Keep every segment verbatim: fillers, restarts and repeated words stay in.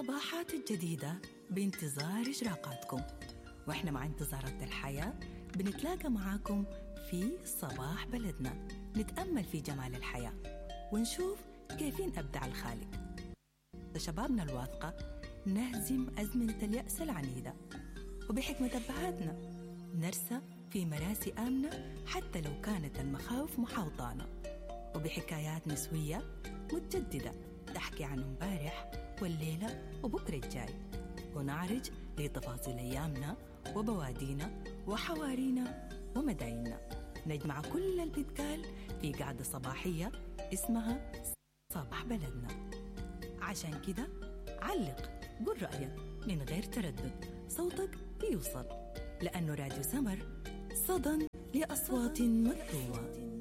الصباحات الجديدة بانتظار إشراقاتكم، وإحنا مع انتظارات الحياة بنتلاقى معاكم في صباح بلدنا، نتأمل في جمال الحياة ونشوف كيفين أبدع الخالق. شبابنا الواثقة نهزم أزمنة اليأس العنيدة، وبحكمة أبهاتنا نرسى في مراسي آمنة حتى لو كانت المخاوف محاوطانا، وبحكايات نسوية متجددة تحكي عن امبارح والليلة وبكرة الجاي، ونعرج لتفاصيل أيامنا وبوادينا وحوارينا ومدايننا. نجمع كل اللي بيتقال في قعدة صباحية اسمها صباح بلدنا. عشان كده علق، قل رأيك من غير تردد، صوتك بيوصل، لأنه راديو سمر صدى لأصوات مكتومة.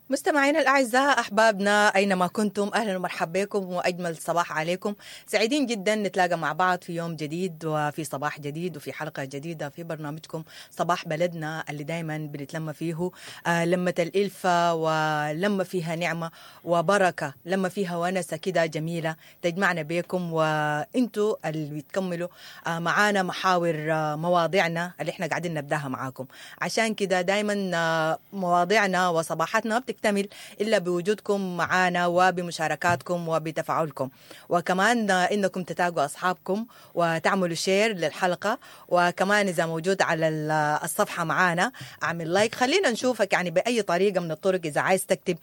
مستمعينا الأعزاء، أحبابنا أينما كنتم، أهلا ومرحبا بكم وأجمل صباح عليكم. سعيدين جدا نتلاقى مع بعض في يوم جديد وفي صباح جديد وفي حلقة جديدة في برنامجكم صباح بلدنا اللي دايما بنتلم فيه آه لمة الإلفة، ولما فيها نعمة وبركة، لما فيها ونسة كده جميلة تجمعنا بكم، وإنتوا اللي بتكملوا آه معانا محاور آه مواضيعنا اللي احنا قاعدين نبداها معاكم. عشان كده دايما آه مواضيعنا وصباحاتنا بتكتمل إلا بوجودكم معانا وبمشاركاتكم وبتفاعلكم، وكمان إنكم تتاقوا أصحابكم وتعملوا share للحلقة، وكمان إذا موجود على الصفحة معانا أعمل like، خلينا نشوفك يعني بأي طريقة من الطرق. إذا عايز تكتب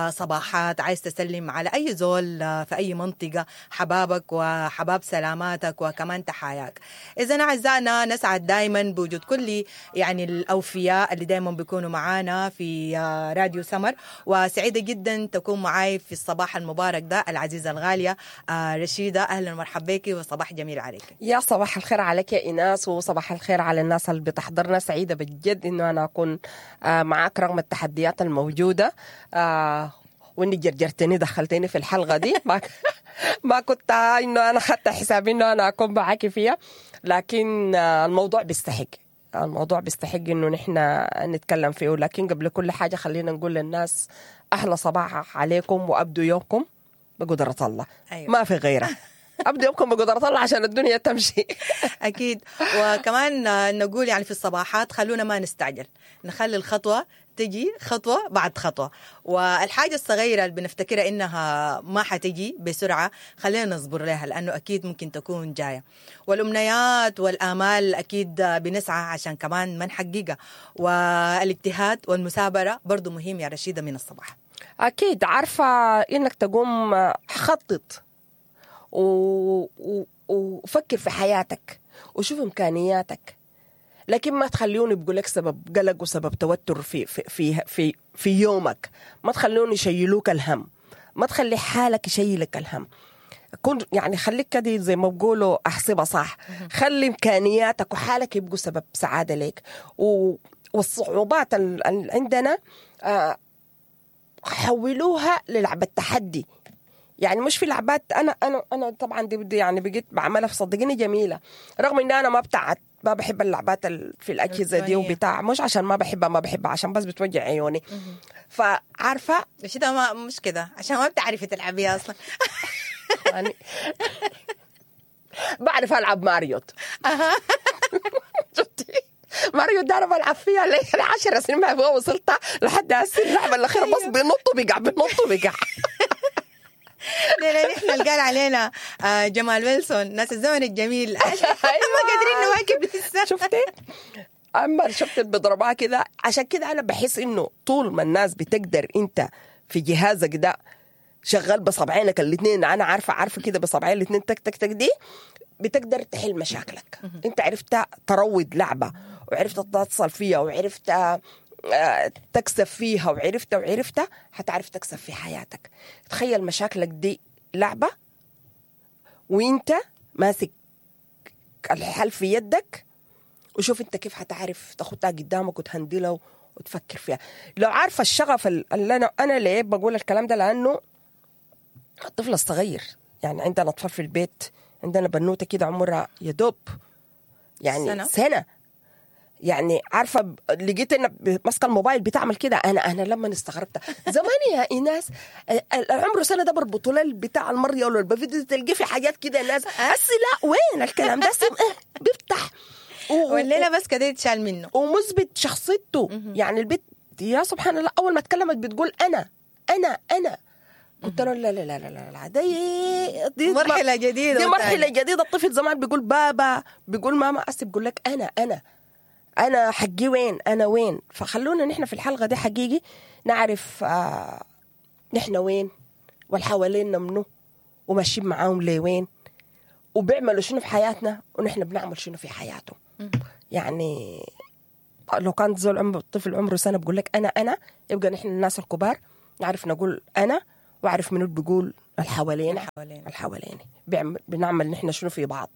صباحات، عايز تسلم على أي زول في أي منطقة، حبابك وحباب سلاماتك وكمان تحاياك. إذا أعزائنا نسعد دايما بوجود كل يعني الأوفياء اللي دايما بيكونوا معانا في راديو سمر، وسعيدة جدا تكون معاي في الصباح المبارك ده العزيزة الغالية رشيدة. أهلا ومرحبا بك وصباح جميل عليك. يا صباح الخير عليك يا إيناس، وصباح الخير على الناس اللي بتحضرنا. سعيدة بجد إنه أنا أكون معاك رغم التحديات الموجودة، وإني جرجرتني دخلتني في الحلقة دي ما ما كنت إنه أنا خدت حسابي إنه أنا أكون معاك فيها، لكن الموضوع بيستحق، الموضوع بيستحق إنه نحن نتكلم فيه. لكن قبل كل حاجة خلينا نقول للناس أحلى صباح عليكم، وأبدوا يومكم بقدرة الله. أيوة. ما في غيره، أبدوا يومكم بقدرة الله عشان الدنيا تمشي. أكيد. وكمان نقول يعني في الصباحات خلونا ما نستعجل، نخلي الخطوة تجي خطوة بعد خطوة، والحاجة الصغيرة اللي بنفتكرها إنها ما حتجي بسرعة خلينا نصبر لها، لأنه أكيد ممكن تكون جاية. والأمنيات والآمال أكيد بنسعى عشان كمان ما نحققها، والاجتهاد والمثابرة برضو مهم يا رشيدة من الصباح. أكيد. عارفة إنك تقوم خطط و... و... وفكر في حياتك وشوف إمكانياتك، لكن ما تخليوني بقولك سبب قلق وسبب توتر في في في في, في يومك. ما تخلوني يشيلوك الهم، ما تخلي حالك يشيلك الهم. كن يعني خليك كده زي ما بقولوا احسبها صح، خلي امكانياتك وحالك يبقوا سبب سعادة لك. والصعوبات اللي عندنا حولوها للعبة تحدي. يعني مش في لعبات، انا انا انا طبعا دي بدي يعني بقيت بعملها في صدقيني جميلة، رغم ان انا ما بتاعت ما بحب اللعبات في الأجهزة دي وبتاع، مش عشان ما بحبها ما بحبها عشان بس بتوجع عيوني. فعارفة مش ده ما مش كده عشان ما بتعرفي تلعبيها أصلا. يعني بعرف ألعب ماريوت. شفتي ماريوت ده أنا بلعب فيها لي عشر سنين ما وصلت لحد هسه اللعبة الأخيرة، بس بينط وبيقع بينط وبيقع. لا نحن اللي قال علينا جمال ويلسون ناس الزمن الجميل ما قادرين نواكب لسه. شفتي اما شفت بضربها كده. عشان كده انا بحس انه طول ما الناس بتقدر انت في جهازك ده شغال بصبعينك الاثنين، انا عارفه عارفه كده بصبعين الاثنين تك تك تك دي بتقدر تحل مشاكلك. انت عرفت تروض لعبه، وعرفت تتصل فيها، وعرفت تكسب فيها، وعرفت وعرفت هتعرف تكسب في حياتك. تخيل مشاكلك دي لعبة وانت ماسك الحل في يدك، وشوف انت كيف هتعرف تاخدها قدامك وتهندلها وتفكر فيها. لو عارفة الشغف اللي انا انا ليه بقول الكلام ده، لانه الطفل الصغير يعني عندنا اطفال في البيت، عندنا بنوتة كده عمرها يدوب يعني سنة, سنة. يعني عارفه ب- لقيت ان ماسكه الموبايل بتعمل كده. انا انا لما استغربت زمان يا ايناس، ال- ال- عمره سنة ده بربطوا له بتاع المريه ولا البفيديو، تلقيه في حاجات كده الناس هسي لا وين الكلام ده؟ هسي إيه، بيفتح و- و- والليلة بس كده يتشال منه. ومثبت شخصيته. يعني البت يا سبحان الله اول ما اتكلمت بتقول انا انا انا. قلت له لا لا لا لا لا, لا دي دي مرحلة جديدة دي مرحلة وتانية. جديدة. الطفل زمان بيقول بابا، بيقول ماما، هسه بيقول لك انا انا انا حقي وين، انا وين. فخلونا نحن في الحلقة دي حقيقي نعرف آه نحن وين والحوالينا منو وماشيين معاهم لوين وبيعملوا شنو في حياتنا ونحن بنعمل شنو في حياتهم. يعني لو كان زول عمره الطفل عمره سنة بقول لك انا انا، يبقى نحن الناس الكبار نعرف نقول انا، واعرف منو بيقول الحوالينا الحوالينا. الحوالينا بيعمل بنعمل نحن شنو في بعض.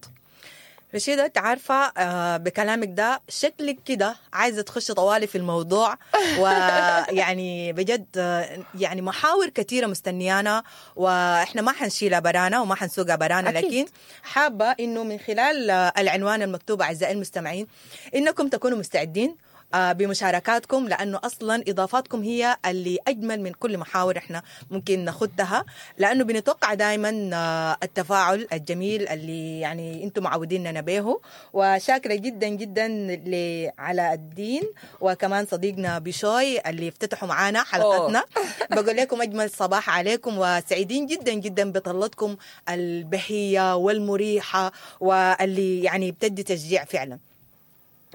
رشيدة انت عارفة آه، بكلامك ده شكلك كده عايزة تخش طوالي في الموضوع، ويعني بجد آه، يعني محاور كثيرة مستنيانا، واحنا ما حنشيلها برانا وما حنسوقها برانا، أكيد. لكن حابة انه من خلال آه، العنوان المكتوب اعزائي المستمعين انكم تكونوا مستعدين آه، بمشاركاتكم، لانه اصلا اضافاتكم هي اللي اجمل من كل محاور احنا ممكن ناخدها، لانه بنتوقع دائما آه، التفاعل الجميل اللي يعني انتم معوديننا به. وشاكره جدا جدا لعلاء الدين وكمان صديقنا بشوي اللي افتتحوا معانا حلقتنا. بقول لكم اجمل صباح عليكم، وسعيدين جدا جدا بطلتكم البهية والمريحه واللي يعني بتدي تشجيع فعلا.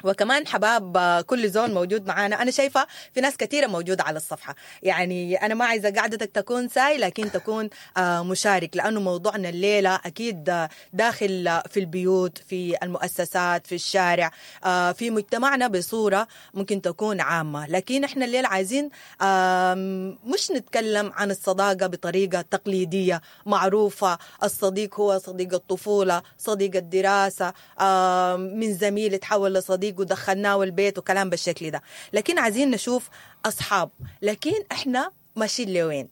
وكمان حباب آه، كل زول موجود معانا، انا شايفه في ناس كثيرة موجودة على الصفحة، يعني انا ما عايزه قعدتك تكون ساي، لكن تكون آه، مشارك، لانه موضوعنا الليلة اكيد آه، داخل آه، في البيوت، في المؤسسات، في الشارع، آه، في مجتمعنا بصورة ممكن تكون عامة. لكن احنا الليلة عايزين آم، مش نتكلم عن الصداقة بطريقة تقليدية معروفة، الصديق هو صديق الطفولة، صديق الدراسة، آم، من زميل تحول لصديق ودخلناه البيت وكلام بالشكل ده، لكن عايزين نشوف اصحاب، لكن احنا ماشيين لوين؟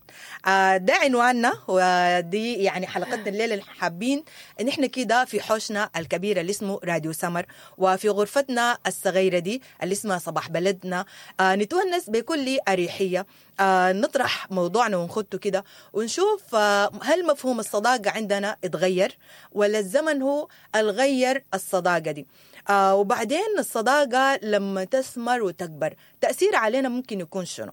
آه ده عنواننا، ودي يعني حلقتنا الليلة اللي حابين ان احنا كده في حوشنا الكبير اللي اسمه راديو سمر، وفي غرفتنا الصغيرة دي اللي اسمها صباح بلدنا، آه نتونس بكل اريحية، آه نطرح موضوعنا ونخطه كده ونشوف آه هل مفهوم الصداقة عندنا اتغير ولا الزمن هو الغير الصداقة دي. آه وبعدين الصداقة لما تثمر وتكبر تاثير علينا ممكن يكون شنو؟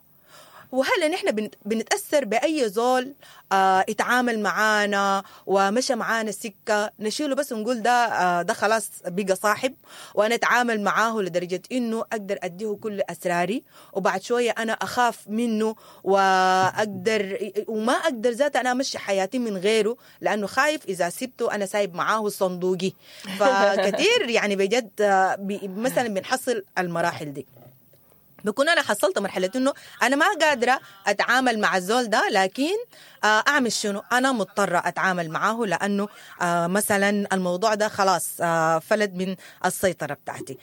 وهل نحن بنت- بنتأثر بأي زول آه اتعامل معانا ومشى معانا السكة نشيله بس ونقول ده آه ده خلاص بقى صاحب، وأنا أتعامل معاه لدرجة إنه أقدر أديه كل أسراري، وبعد شوية أنا أخاف منه وأقدر وما أقدر ذات أنا أمشي حياتي من غيره، لأنه خايف إذا سبته أنا سايب معاه صندوقي. فكثير يعني بجد آه، بي- مثلا بنحصل المراحل دي، بكون انا حصلت مرحلة انه انا ما قادرة اتعامل مع الزول ده، لكن آه، اعمل شنو؟ انا مضطرة اتعامل معاه لانه آه، مثلا الموضوع ده خلاص آه، فلت من السيطرة بتاعتي.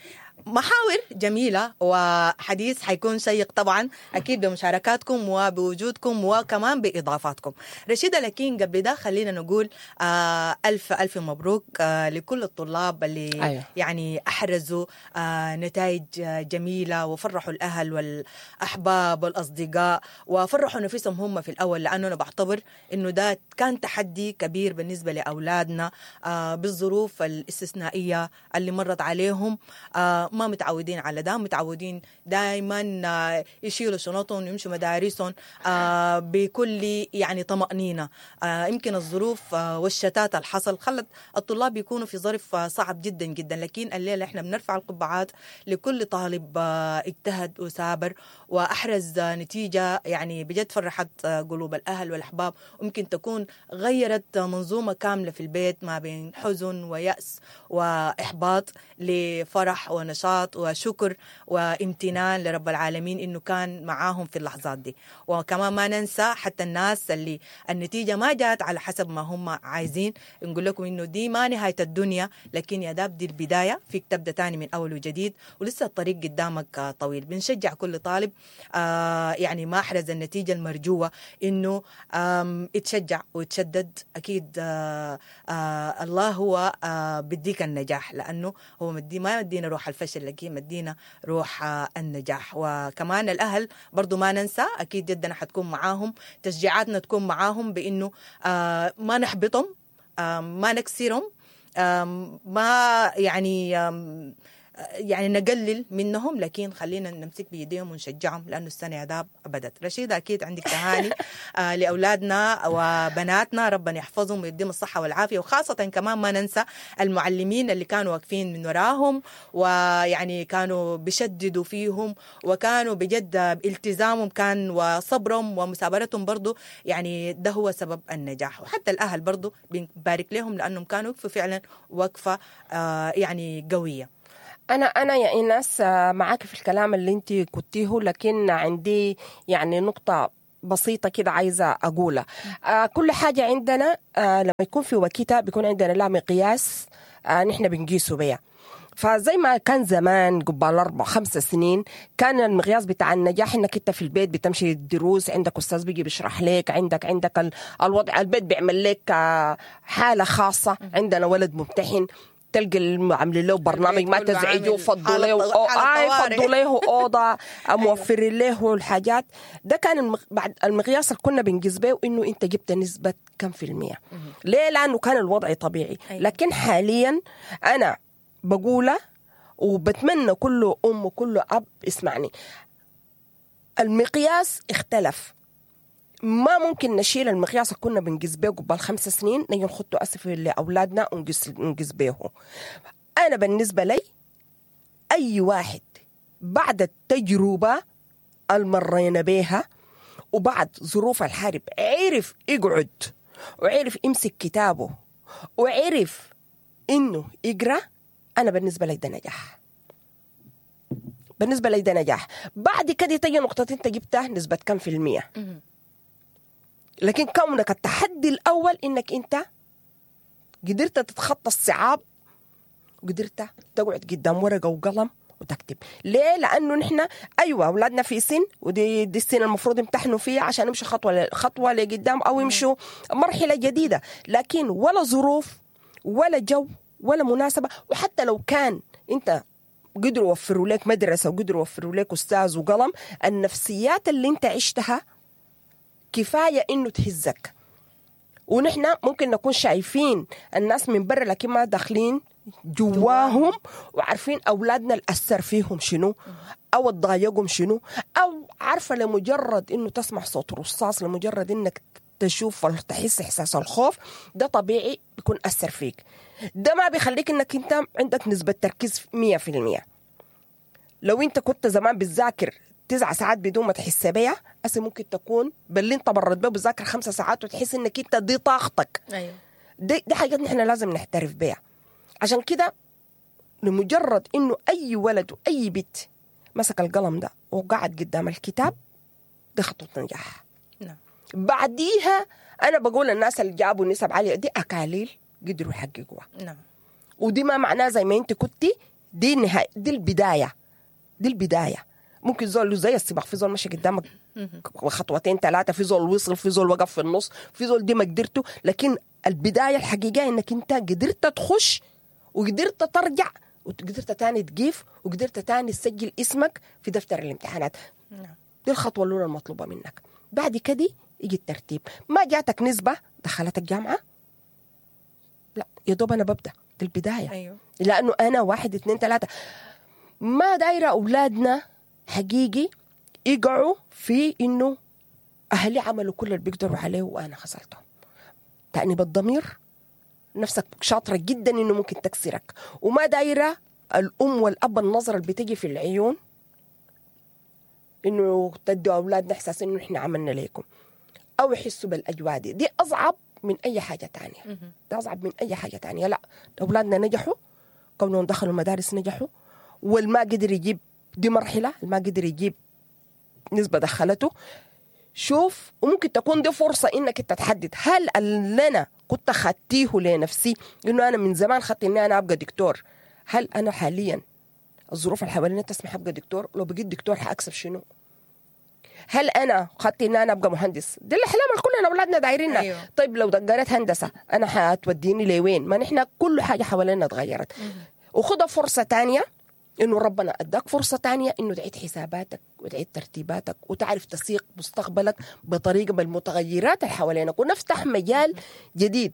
محاور جميلة وحديث حيكون شيق طبعا أكيد بمشاركاتكم وبوجودكم وكمان بإضافاتكم. رشيدة، لكن قبل ده خلينا نقول آه ألف ألف مبروك آه لكل الطلاب اللي أيوة. يعني أحرزوا آه نتائج آه، جميلة وفرحوا الأهل والأحباب والأصدقاء وفرحوا نفسهم هم في الأول، لأنه أنا بعتبر إنه ده كان تحدي كبير بالنسبة لأولادنا آه بالظروف الاستثنائية اللي مرت عليهم، آه ما متعودين على ده، متعودين دائما آه يشيلوا شنطهم ويمشوا مدارسهم آه بكل يعني طمأنينة. آه يمكن الظروف آه والشتات اللي حصل خلت الطلاب يكونوا في ظرف آه صعب جدا جدا، لكن الليلة احنا بنرفع القبعات لكل طالب آه اجتهد وثابر وأحرز آه نتيجة يعني بجد فرحت آه قلوب الأهل والأحباب، ويمكن تكون غيرت آه منظومة كاملة في البيت ما بين حزن ويأس وإحباط لفرح ونشاط وشكر وامتنان لرب العالمين إنه كان معاهم في اللحظات دي. وكمان ما ننسى حتى الناس اللي النتيجة ما جات على حسب ما هم عايزين، نقول لكم إنه دي ما نهاية الدنيا، لكن يا داب دي البداية، فيك تبدأ تاني من أول وجديد ولسه الطريق قدامك آه، طويل. بنشجع كل طالب آه، يعني ما أحرز النتيجة المرجوة إنه آم، يتشجع ويتشدد. أكيد آه، آه، الله هو آه، بديك النجاح، لأنه هو مدي ما يدينا روح الفشل، الفشل، لكن مدينا روح النجاح. وكمان الاهل برضو ما ننسى، اكيد جدا حتكون معاهم، تشجيعاتنا تكون معاهم بانه آه ما نحبطهم، آه ما نكسرهم، آه ما يعني آه يعني نقلل منهم، لكن خلينا نمسك بيديهم ونشجعهم لانه السنة يا داب بدت. رشيده اكيد عندك تهاني آه لاولادنا وبناتنا، ربنا يحفظهم ويديهم الصحة والعافية، وخاصة كمان ما ننسى المعلمين اللي كانوا واقفين من وراهم ويعني كانوا بيشددوا فيهم، وكانوا بجد التزامهم كان وصبرهم ومثابرتهم برضو، يعني ده هو سبب النجاح. وحتى الاهل برضو بنبارك لهم لانهم كانوا وقفوا فعلا وقفه آه يعني قوية. أنا أنا يا إيناس معاك في الكلام اللي أنت كنتيه، لكن عندي يعني نقطة بسيطة كده عايزة أقولها. آه كل حاجة عندنا آه لما يكون في وقتها بيكون عندنا لا مقياس آه نحن بنقيسه بيها. فزي ما كان زمان قبل أربع خمس سنين كان المقياس بتاع النجاح إنك أنت في البيت بتمشي الدروس، عندك أستاذ بيجي بيشرح لك، عندك عندك الوضع البيت بيعمل لك حالة خاصة. عندنا ولد ممتحن تلقى عاملين له برنامج ما تزعجه، فضوا له فضوا له اوضة، موفرين له الحاجات. ده كان المغ... بعد المقياس اللي كنا بنقيس به انه انت جبت نسبه كم في المية. ليه؟ لانه كان الوضع طبيعي. لكن حاليا انا بقوله وبتمنى كل ام وكل اب اسمعني، المقياس اختلف. ما ممكن نشيل المقياس اللي كنا بنقيس بيه قبل خمس سنين نجي نخطه أسف لأولادنا ونقيس نقيس بيه. أنا بالنسبة لي أي واحد بعد التجربة المرينا بيها وبعد ظروف الحرب عرف يقعد وعرف يمسك كتابه وعرف إنه يقرأ، أنا بالنسبة لي ده نجاح. بالنسبة لي ده نجاح. بعد كده تجي نقطة أنت جبتها نسبة كم في المية، لكن كونك التحدي الأول إنك أنت قدرت تتخطى الصعاب وقدرت تقعد قدام ورقة وقلم وتكتب. ليه؟ لأنه نحن أيوة أولادنا في سن، ودي دي السنة المفروض يمتحنوا فيها عشان يمشوا خطوة خطوة لقدام أو يمشوا مرحلة جديدة، لكن ولا ظروف ولا جو ولا مناسبة. وحتى لو كان أنت قدروا يوفروا لك مدرسة وقدروا يوفروا لك أستاذ وقلم، النفسيات اللي أنت عشتها كفاية إنه تهزك. ونحن ممكن نكون شايفين الناس من برا لكن ما داخلين جواهم وعارفين أولادنا الأثر فيهم شنو أو اتضايقهم شنو، أو عارفة لمجرد إنه تسمع صوت رصاص، لمجرد إنك تشوف وتحس إحساس الخوف ده طبيعي بيكون أثر فيك. ده ما بيخليك إنك أنت عندك نسبة تركيز مية في المية. لو أنت كنت زمان بتذاكر تسع ساعات بدون ما تحس بيها، أصل ممكن تكون باللي انت برد بيه بتذاكر خمسة ساعات وتحس انك انت دي طاقتك. ايوه، دي, دي حاجات نحن لازم نحترف بيها. عشان كده لمجرد انه اي ولد واي بنت مسك القلم ده وقعد قدام الكتاب، دي خطوة نجاح. نعم. بعديها انا بقول الناس اللي جابوا نسب عالية دي اكاليل قدروا يحققوها. نعم. ودي ما معناه زي ما انت كنتي، دي النهاية، دي البداية، دي البداية. ممكن زول زي السباق، في زول ماشي قدامك خطوتين ثلاثة، في زول وصل، في زول وقف في النص، في زول دي ما قدرته، لكن البداية الحقيقية انك انت قدرت تخش وقدرت ترجع وقدرت تاني تقيف وقدرت تاني تسجل اسمك في دفتر الامتحانات. دي الخطوة الأولى المطلوبة منك. بعد كده يجي الترتيب. ما جاتك نسبة دخلتك جامعة، لا يا دوب أنا ببدأ، دي البداية. أيوه. لأنه أنا واحد اثنين ثلاثة. ما دايرة أولادنا حقيقي يقعوا في إنه أهلي عملوا كل اللي بيقدروا عليه وأنا خسرتهم. تأنيب الضمير، نفسك شاطرة جدا إنه ممكن تكسرك. وما دايرة الأم والأب النظرة اللي بتجي في العيون إنه تدوا أولادنا إحساس إنه إحنا عملنا ليكم، أو يحسوا بالأجواء دي. دي أصعب من أي حاجة تانية. دي أصعب من أي حاجة تانية. لا، أولادنا نجحوا، كونهم دخلوا المدارس نجحوا، والما قدر يجيب دي مرحلة، ما قدر يجيب نسبة دخلته. شوف، وممكن تكون دي فرصة إنك أنت تحدد هل اللي أنا كنت خدتيه لنفسي إنه أنا من زمان خدت إني أنا أبقى دكتور، هل أنا حاليا الظروف اللي حوالينا تسمح أبقى دكتور؟ لو بقيت دكتور حأكسب شنو؟ هل أنا خدت إن أنا أبقى مهندس؟ دي الأحلام اللي كلنا أولادنا دايرينها. أيوه. طيب لو قريت هندسة أنا حتوديني لوين؟ ما نحن كل حاجة حوالينا اتغيرت. وخدها فرصة تانية انه ربنا اداك فرصة تانية انه تعيد حساباتك وتعيد ترتيباتك وتعرف تسيق مستقبلك بطريقة بالمتغيرات اللي حوالينك، ونفتح مجال جديد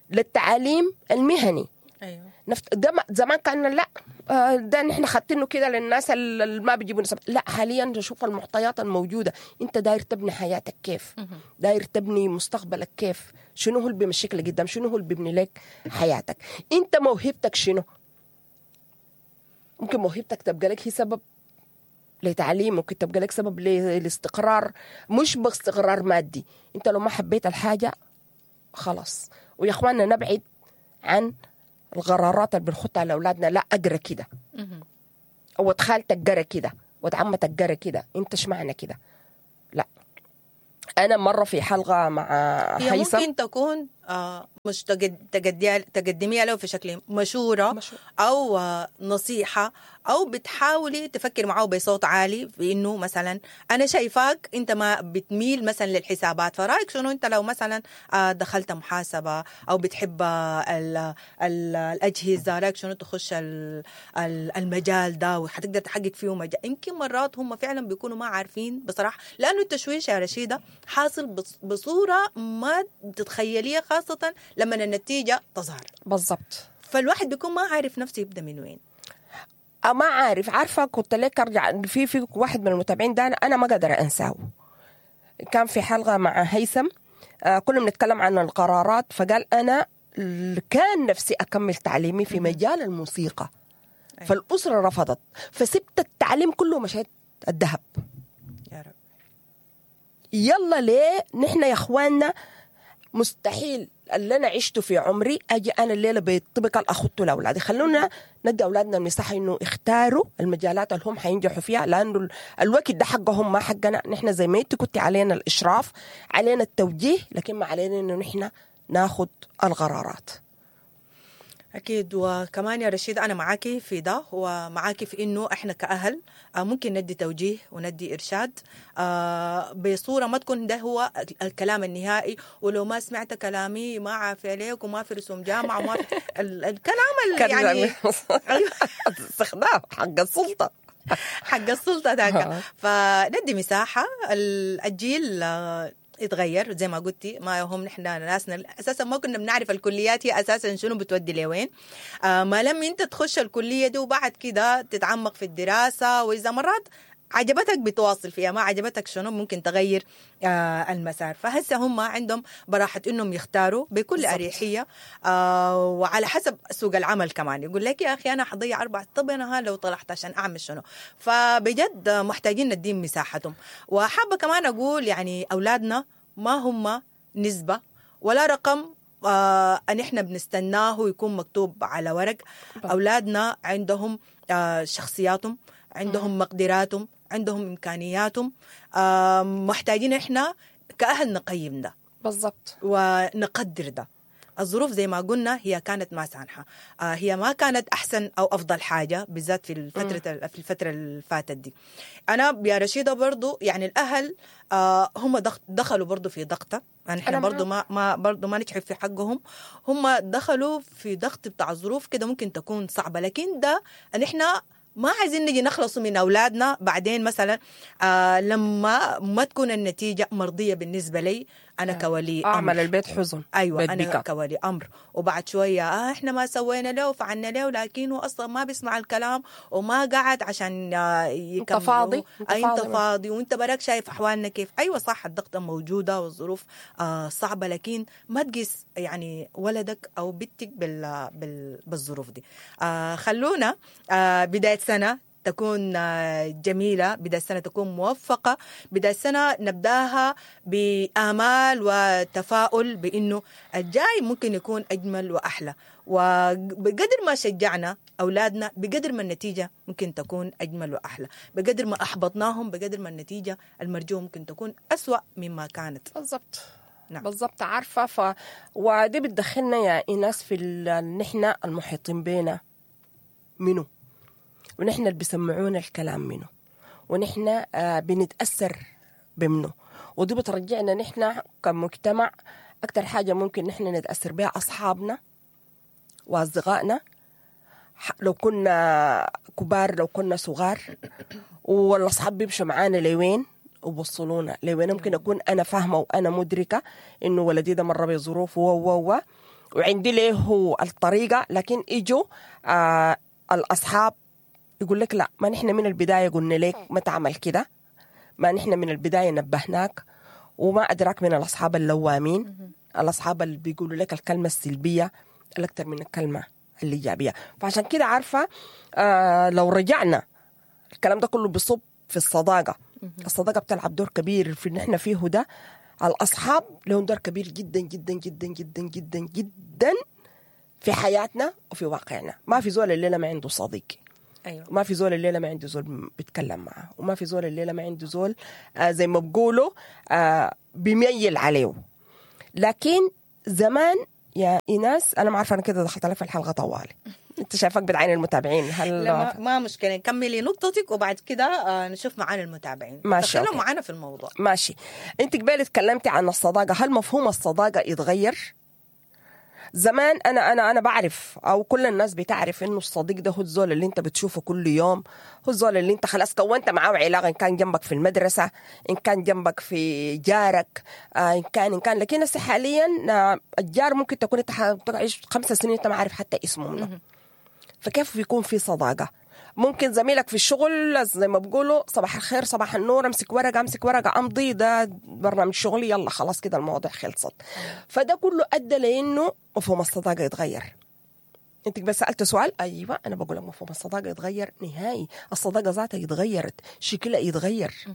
للتعليم المهني. ايوه نفت... ده ما- زمان كان لا، آه، ده نحن خدتينه كده للناس اللي ما بيجيبوا نسب. لا، حاليا نشوف المعطيات الموجودة. انت داير تبني حياتك كيف، داير تبني مستقبلك كيف، شنو هو اللي بيمشيك لقدام، شنو هو اللي بيبني لك حياتك، انت موهبتك شنو. ممكن موهبتك تبقى لك هي سبب لتعليم، ممكن تبقى لك سبب لاستقرار، مش باستقرار مادي. انت لو ما حبيت الحاجة خلاص. ويا اخواننا نبعد عن القرارات اللي بنخطها لاولادنا. لا اقرا كده، او خالتك قرا كده، ود عمتك قرا كده، انت ايش معنى كده؟ لا، انا مرة في حلقة مع هي هيثم ممكن تكون آه، مش تقد- تقديها تقدميها له في شكل مشورة مشورة. أو آه، نصيحة، أو بتحاولي تفكر معه بصوت عالي في إنه مثلا أنا شايفاك أنت ما بتميل مثلا للحسابات، فرأيك شنو أنت لو مثلا آه، دخلت محاسبة أو بتحب آه، ال ال الأجهزة، رأيك شنو تخش ال ال المجال ده وحتقدر تحقق فيه مجال. يمكن مرات هم فعلا بيكونوا ما عارفين بصراحة، لأنه التشويش يا رشيدة حاصل بص- بصورة ما تتخيليها، خاصة لما النتيجة تظهر، بالضبط. فالواحد بيكون ما عارف نفسه يبدأ من وين. أه ما عارف. عارفه كنت لك ارجع في في واحد من المتابعين ده انا أنا ما قادرة انساه. كان في حلقة مع هيثم، آه كنا بنتكلم عن القرارات، فقال انا ال- كان نفسي اكمل تعليمي في مجال الموسيقى، أيوة. فالاسره رفضت، فسبت التعليم كله ومشيت الذهب. يا رب. يلا ليه نحن يا اخواننا مستحيل اللي انا عشته في عمري اجي انا الليلة بالطبقه اللي اخذته لاولادي. خلونا ندي اولادنا المساحة انه يختاروا المجالات اللي هم حينجحوا فيها، لانه ال- الوقت ده حقهم ما حقنا نحن. زي ما انت كنت علينا الاشراف، علينا التوجيه، لكن ما علينا انه نحن ناخذ القرارات. أكيد. وكمان يا رشيد أنا معاكي في ده، ومعاكي في إنه إحنا كأهل آه، ممكن ندي توجيه وندي إرشاد آه، بصورة ما تكون ده هو الكلام النهائي، ولو ما سمعت كلامي ما عافية عليك وما في رسوم جامعة وما في ال- الكلام ال- يعني أيوة. استخدام حق السلطة. حق السلطة ذاك. آه. فندي مساحة. ال- الجيل آه، اتغير زي ما قلتي، ما هم نحن ناسنا اساسا ما كنا بنعرف الكليات هي اساسا شنو بتودي لوين. آه، ما لم انت تخش الكلية دي وبعد كده تتعمق في الدراسة، واذا مرات عجبتك بتواصل فيها، ما عجبتك شنو ممكن تغير آه المسار. فهسه هم عندهم براحة انهم يختاروا بكل بالضبط. اريحية، آه وعلى حسب سوق العمل كمان. يقول لك يا اخي انا حضيع اربع، طب انا ها لو طلعت عشان اعمل شنو؟ فبجد محتاجين نديهم مساحتهم. وحابة كمان اقول يعني اولادنا ما هم نسبه ولا رقم آه ان احنا بنستناه يكون مكتوب على ورق. اولادنا عندهم آه شخصياتهم، عندهم مقدراتهم، عندهم امكانياتهم، آه محتاجين احنا كاهل نقيم ده بالضبط. ونقدر ده. الظروف زي ما قلنا هي كانت ما سانحة، آه هي ما كانت أحسن أو أفضل حاجة بالذات في الفترة في الفترة اللي فاتت دي. أنا يا رشيدة برضو يعني الأهل آه هم دخ- دخلوا برضو في ضغطة، يعني احنا أنا برضو ما ما برضو ما نجحوا في حقهم، هم دخلوا في ضغط بتاع الظروف كده ممكن تكون صعبة، لكن ده نحن ما عايزين نجي نخلص من أولادنا بعدين مثلا آه لما ما تكون النتيجة مرضية بالنسبة لي أنا كولي أمر. اعمل البيت حزن. ايوه بيت انا بكا. كولي امر، وبعد شوية آه احنا ما سوينا له وفعلنا له، لكن هو اصلا ما بيسمع الكلام وما قعد عشان آه، يكمل. فاضي، انت, أنت انت فاضي. فاضي وانت براك شايف احوالنا كيف. ايوه صح، الضغطه موجودة والظروف آه صعبة، لكن ما تقيس يعني ولدك او بنتك بال بال بالظروف دي. آه خلونا آه بداية سنة تكون آه، جميلة، بداية السنة تكون موفقة، بداية السنة نبداها بآمال وتفاؤل بأنه الجاي ممكن يكون أجمل وأحلى. وبقدر ما شجعنا أولادنا بقدر ما النتيجة ممكن تكون أجمل وأحلى، بقدر ما أحبطناهم بقدر ما النتيجة المرجوة ممكن تكون أسوأ مما كانت. بالضبط. نعم. بالضبط. عارفه ف ودي بتدخلنا يا ايناس في ال... نحن المحيطين بينا منو، ونحن اللي بيسمعونا الكلام منه، ونحن آه، بنتاثر بمنه، ودي بترجعنا نحن كمجتمع. اكثر حاجة ممكن نحن نتاثر بها اصحابنا واصدقائنا، لو كنا كبار لو كنا صغار، والاصحاب بيمشوا معانا لوين وبوصلونا لوين. ممكن اكون انا فاهمه وانا مدركه انه ولدي ده مر بظروف و و و وعندي له الطريقة، لكن اجوا آه الاصحاب يقول لك لا، ما نحن من البداية قلنا لك ما تعمل كده، ما نحن من البداية نبهناك، وما ادراك من الاصحاب اللوامين، الاصحاب اللي بيقولوا لك الكلمة السلبية الاكثر من الكلمة الايجابية. فعشان كده عارفه آه لو رجعنا الكلام ده كله بيصب في الصداقة. الصداقة بتلعب دور كبير في اللي احنا فيه ده. الاصحاب لهم دور كبير جدا جدا جدا جدا جدا جدا في حياتنا وفي واقعنا. ما في زول الليلة ما عنده صديق. ايوه، ما في زول الليلة ما عنده زول بيتكلم معه، وما في زول الليلة ما عنده زول آه زي ما بقولوا آه بيميل عليه. لكن زمان يا ايناس، انا ما عارفه انا كده دخلت لك في الحلقة طوالي، انت شايفك بتعين المتابعين. هل لا ما, ما مشكلة، كملي نقطتك وبعد كده آه نشوف معانا المتابعين. ماشي، دخلوا معانا في الموضوع. ماشي. انت قبل تكلمتي عن الصداقة، هل مفهوم الصداقة يتغير؟ زمان انا انا انا بعرف او كل الناس بتعرف انه الصديق ده هو الزول اللي انت بتشوفه كل يوم، هو الزول اللي انت خلاص كونت معاه علاقة، ان كان جنبك في المدرسة، ان كان جنبك في جارك، آه ان كان ان كان لكن هسه حاليا آه الجار ممكن تكون انت تعيش خمس سنين انت ما عارف حتى اسمه منه. فكيف بيكون في صداقه؟ ممكن زميلك في الشغل زي ما بقولوا صباح الخير صباح النور، امسك ورقة امسك ورقة امضي، ده برنامج شغلي، يلا خلاص كده المواضيع خلصت. فده كله ادى لانه مفهوم الصداقة يتغير. انت بس سالت سؤال، ايوه انا بقول لك مفهوم الصداقة يتغير نهائي. الصداقة ذاتها اتغيرت، شكلها يتغير.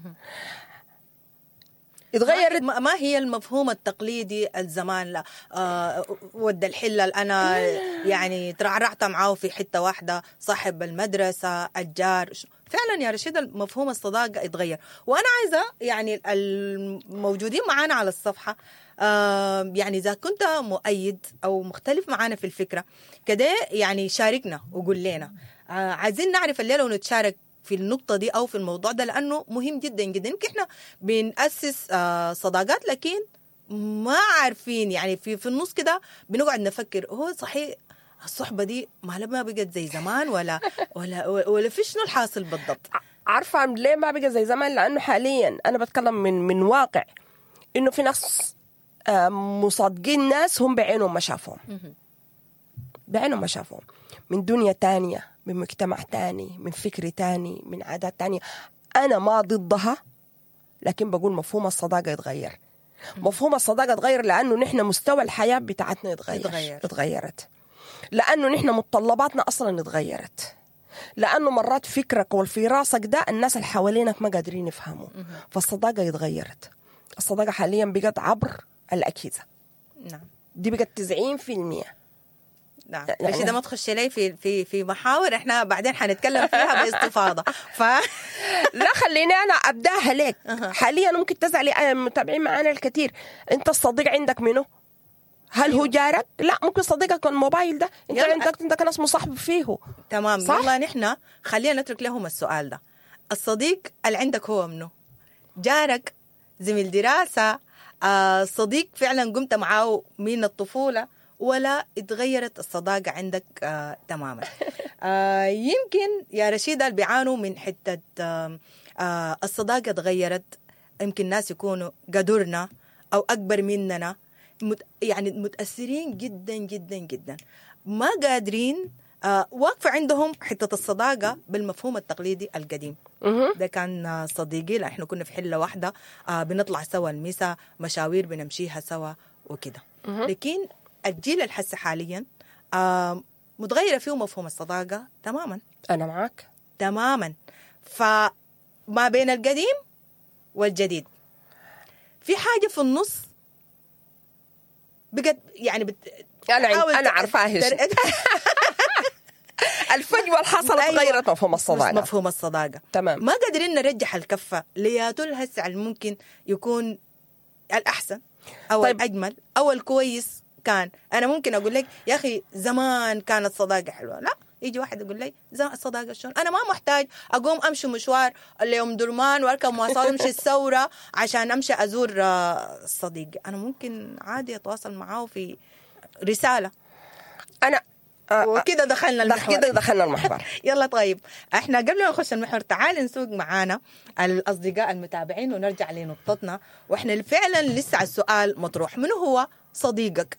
اتغيرت. ما ما هي المفهوم التقليدي الزمان؟ لا آه ود الحلة اللي انا يعني ترعرعت معاه في حتة واحدة، صاحب المدرسة، الجار. فعلا يا رشيد مفهوم الصداقة اتغير. وانا عايزه يعني الموجودين معانا على الصفحة آه يعني اذا كنت مؤيد او مختلف معانا في الفكرة كده يعني شاركنا وقول لنا، آه عايزين نعرف الليلة ونتشارك في النقطة دي أو في الموضوع ده، لأنه مهم جدا جدا. يمكن إحنا بنأسس صداقات لكن ما عارفين يعني في في النص كده بنقعد نفكر هو صحيح الصحبة دي ما ما بقت زي زمان ولا ولا ولا في شنو الحاصل بالضبط؟ عارفة ليه ما بقى زي زمان؟ لأنه حاليا أنا بتكلم من من واقع إنه في ناس مصادقين ناس هم بعينهم ما شافوهم، بعينهم ما شافوهم، من دنيا تانية، من مجتمع تاني، من فكر تاني، من عادات تانية. أنا ما ضدها، لكن بقول مفهوم الصداقة يتغير. مفهوم الصداقة يتغير لأنه نحن مستوى الحياة بتاعتنا يتغير، اتغيرت، لأنه نحن متطلباتنا أصلا اتغيرت، لأنه مرات فكرك والفي راسك ده الناس اللي حوالينك ما قادرين يفهموا. فالصداقة اتغيرت. الصداقة حاليا بقت عبر الأجهزة. نعم، دي بقت تسعين في المية. نعم، يعني ده ما تخش لي في في في محاور احنا بعدين حنتكلم فيها باستفاضة. ف لا خليني انا ابداها لك. حاليا ممكن تزعلي المتابعين معانا الكثير، انت الصديق عندك منه؟ هل هو جارك؟ لا، ممكن صديقك الموبايل ده انت عندك عندك ناس مصاحب فيه. تمام، صح؟ يلا نحن خلينا نترك لهم السؤال ده، الصديق اللي عندك هو منه؟ جارك، زميل دراسة، آه صديق فعلا قمت معاه من الطفولة، ولا اتغيرت الصداقة عندك آه تماما؟ آه يمكن يا رشيدة اللي بيعانوا من حتة آه آه الصداقة اتغيرت، يمكن ناس يكونوا قدرنا أو أكبر مننا، مت يعني متأثرين جدا جدا جدا، ما قادرين آه واقفة عندهم حتة الصداقة بالمفهوم التقليدي القديم. ده كان صديقي، لأ احنا كنا في حلة واحدة، آه بنطلع سوا المسا، مشاوير بنمشيها سوا وكده. لكن الجيل الحس حاليا آه متغيرة فيه مفهوم الصداقة تماما. أنا معك تماما. فما بين القديم والجديد في حاجة في النص بقت يعني بت... أنا أنا عارفاها. الفجوة اللي حصلت أيوة. غيرت مفهوم الصداقة. مفهوم الصداقة تمام. ما قادرين نرجح الكفة لياتول هسه ممكن يكون الأحسن أو طيب. الأجمل أو الكويس. كان أنا ممكن أقول لك يا أخي زمان كانت صداقة حلوة، لا يجي واحد يقول لي الصداقة شلون؟ أنا ما محتاج أقوم أمشي مشوار اليوم درمان وأركب مواصلات أمشي الثورة عشان أمشي أزور صديق، أنا ممكن عادي أتواصل معاه في رسالة. أنا آه، وكده دخلنا المحور. كده دخلنا المحور. يلا طيب، احنا قبل ما نخش المحور تعال نسوق معانا الاصدقاء المتابعين ونرجع لنقطتنا، واحنا فعلا لسه السؤال مطروح، من هو صديقك؟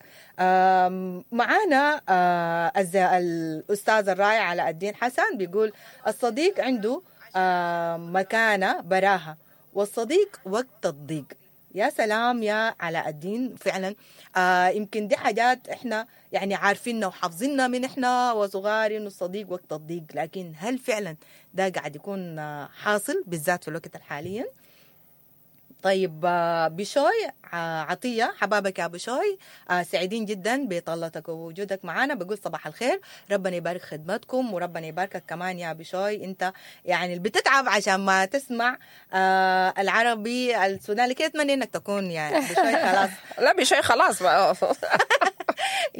معانا آه، الاستاذ الرائع علاء الدين حسن بيقول الصديق عنده مكانه براها، والصديق وقت الضيق. يا سلام يا علاء الدين، فعلا آه يمكن دي حاجات احنا يعني عارفينها وحافظينها من احنا وصغار، انه الصديق وقت الضيق، لكن هل فعلا ده قاعد يكون حاصل بالذات في الوقت الحالي؟ طيب بشوي عطية، حبابك يا بشوي، سعيدين جدا بطلتك ووجودك معنا. بقول صباح الخير، ربنا يبارك خدمتكم وربنا يباركك كمان يا بشوي، انت يعني اللي بتتعب عشان ما تسمع العربي السوداني كده، اتمنى انك تكون يعني بشوي خلاص. لا بشوي خلاص.